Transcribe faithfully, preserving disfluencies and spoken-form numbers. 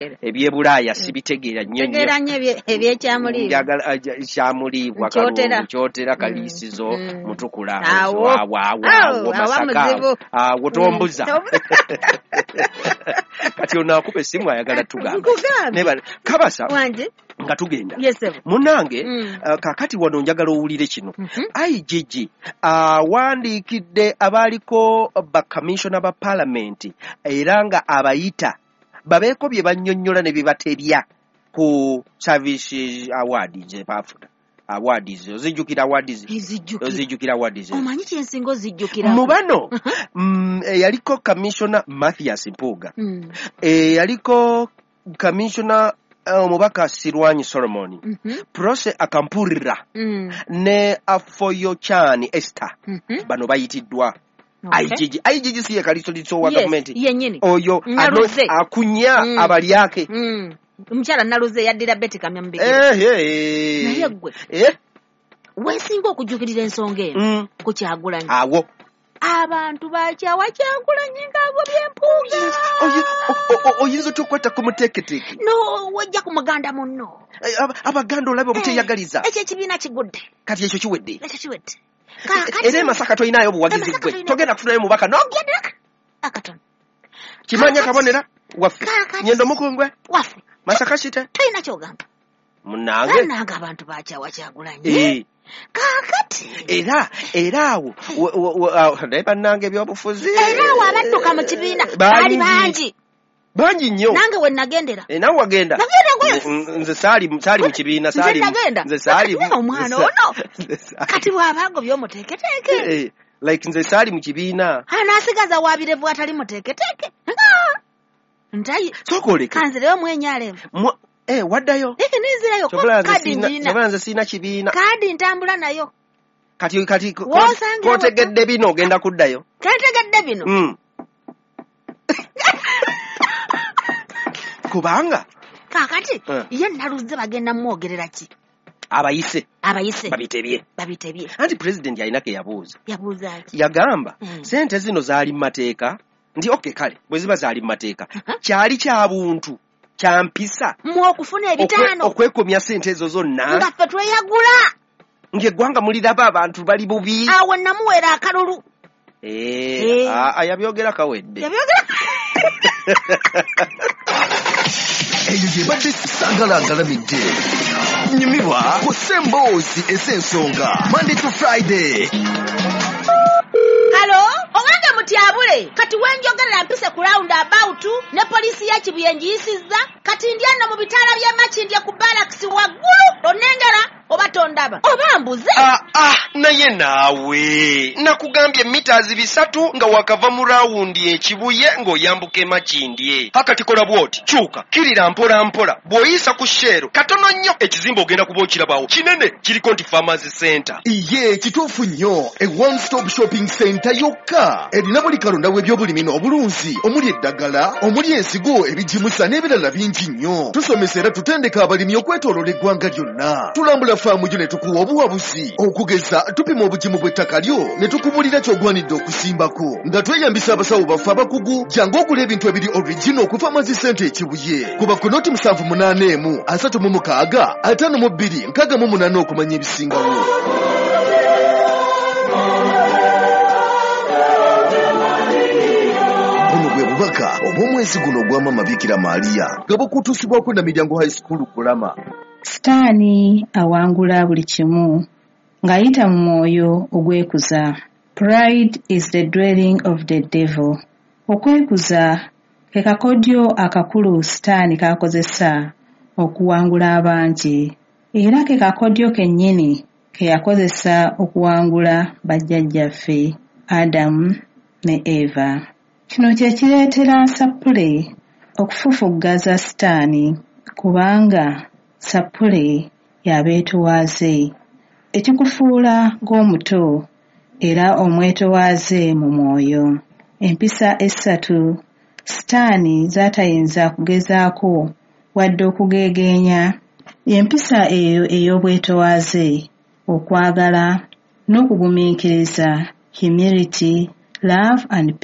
Ebyebulaaya sibitegeera nnyo nnyo. Tegeera nnyo ebye- ebyekyamuliibwa. Njagala aja- kyamuliibwa. Nkyotera. Kalungu, Kyotera, Kaliisizo, Mm. Mutukula. Awo. Awo, awo, Awo, awo, awa Masaka. Muzibu. Awo tombuza. Mm, tombuza. Kati ono akuba essimu ayagala tugamba. Nkugambye. Nebale. Kabasa Wange. nga tugenda. Yes, sir. Munnange, Mm. uh, kaakati wano njagala owulire kino. Mhm. I G G awandiikidde abaaliko bakamishona ba paalamenti era nga abayita babeeko bye bannyonnyola ne bye batebya ku service award ze baafuna. Awards ozijjukira? Awards. Ezijjukira. Ozijjukira awards? Omanyi kyensinga ozijjukira? Mu bano mm, eyaliko kamishona Mathias Mpuuga, Mm. eyaliko kamishona omubaka Sirwanyi Solomon, Mhm. Prossy Akampurira Mm. ne Afoyochan Esther, Mhm. bano bayitiddwa. Okay. I G G, I G G si ye kalisoliso wa Yes, gavumenti? Yennyini. Oyo Naluze. ano- akunya Mm. abalyake. Mm. Omukyala Naluze yaddira Betty Kamya mu bigere. Eh, eh. Naye ggwe, Eh, weesinga okujjukirira ensonga eno mm, ku Kyagulanyi. Awo. Abantu bakyawa Kyagulanyi ng'agobye Mpuuga. Oyi- o- o- oyinza otya okukwata ku muteeketeeke? No, wejja ku muganda munno. Eh, aba- abaganda olaba obuteeyagaliza. Ekyo ekibiina kigudde. Kati ekyo kiwedde. Ekyo kiwedde. Kaakati Era e Masaka tolinayo buwagizi. E Masaka Gwe tolina- togenda kufunayo mubaka no. Yaddiraka akatono. Kimanya Kaakati- kabonera waffe. Kaakati- Nyendo mukungwe. Waffe. Masaka kite. Tolina kyogamba. Munnange. Bannange, abantu bakyawa Kyagulanyi. Eh, Kaakati era era awo we- we- we- awo, naye bannange, ebyobufuzi. Era awo abadduka mu kibiina baali bangi. Bangi nnyo. Nange we nagendera. Eh, nawe wagenda? Nagenda gwe. Nze- nze saali saali mu kibiina. Nze Saali mu- nagenda. Nze saali Kati omwana nze sa- ono. nze saali- Kati bw'aba agobye omuteeketeeke, Eh, like nze saali mu kibiina. anaasigaza wabirevu atali muteeketeeke. Ah! Ntayi. Sooka oleke. Kanzireyo mwenyalevu. Mwa- eh, waddayo? Eke ninzirayo. Kyova nze kaadi siina- ngiina. Kyova nze siina kibiina. Kaadi ntambula nayo. Kati kati ko- W'osangira. Kotegedde bino, ogenda kuddayo? Kentegedde bino. Mm. Kubanga Kaakati Eh. ye Naluze bagenda mwogerera ki? Abayise. Abayise. Babitebye. Babitebye. Anti pulezidenti alina ke yabuuza. Yabuuza ki? Yagamba, Mm. sente zino zaali mu mateeka? Nti okay, kale bwe ziba zaali mu mateeka, Uh-huh. kyali kya buntu, kya mpisa Mu okufuna okwe- ebitaano okwekomya sente ezo zonna nga ffe tweyagula? Ng'eggwanga muliraba abantu bali bubi. Awo namuweera akalulu. Eh, Eh. aa, yabyogera kawedde. Yabyogera. Eyo gyebadde Sagala Agalamidde. Nyumirwa ku Semboozi ez'ensonga, Monday to Friday. Halo, owange mutyabule, kati wenjogerera mpise ku round about ne poliisi ya Kibuye ngiyisizza. Kati ndi eno mu bitaala by'e Makindye ku barracks waggulu. Onnengera oba tondaba oba mbuze? Ah, ah, naye naawe nakugambye mitazi bisatu nga wakava mu rawundi ekibuye ng'oyambuka emakindye. Akati kola bw'oti, kyuka kirira mpola mpola, bw'oyisa ku Shell katono nnyo, ekizimbe ogenda kuba okirabawo kinene, kiriko nti Farmers Center. Iye kituufu nnyo, e one stop shopping center yokka erina buli kalonda w'ebyobulimi n'obulunzi, omuli eddagala, omuli ensigo, ebigimusa n'ebirala bingi nnyo. Tusomesa era tutendeka abalimi okwetooloola eggwanga lyonna. Tulambula faamu yo ne tukuwa obuwabuzi. Okugeza, tupima obugimu bw'ettaka lyo ne tukubuulira ky'ogwanidde okusimbako nga tweyambisa abasawo baffe abakugu. Jangu ogula ebintu ebiri original ku Farmers Center Ekibuye. Kuba ku noti musanvu munaana emu asatu mu mukaaga ataano mu bbiri nkaaga mu munaana okumanya ebisingawo. Buno bwe bubaka obw'omwezi guno ogwa Mama Bikira Maria nga bukutuusibwako na Miryango High School Kulama. Sitaani awangula buli kimu ng'ayita mu mwoyo ogwekuza. Pride is the dwelling of the devil. Okwekuza ke kakodyo akakulu Sitaani k'akozesa okuwangula abangi. Era ke kakodyo kennyini ke yakozesa okuwangula bajjajjaffe Adamu ne Eva. Kino kye kireetera Sappule okufufuggaza Sitaani, kubanga Sappule y'abeetowaaze, ekikufuula ng'omuto era omwetowaaze mu mwoyo. Empisa essatu Sitaani z'atayinza kugezaako wadde okugeegeenya y'empisa eyo ey'obwetowaaze, okwagala n'okugumiikiriza, humility, love and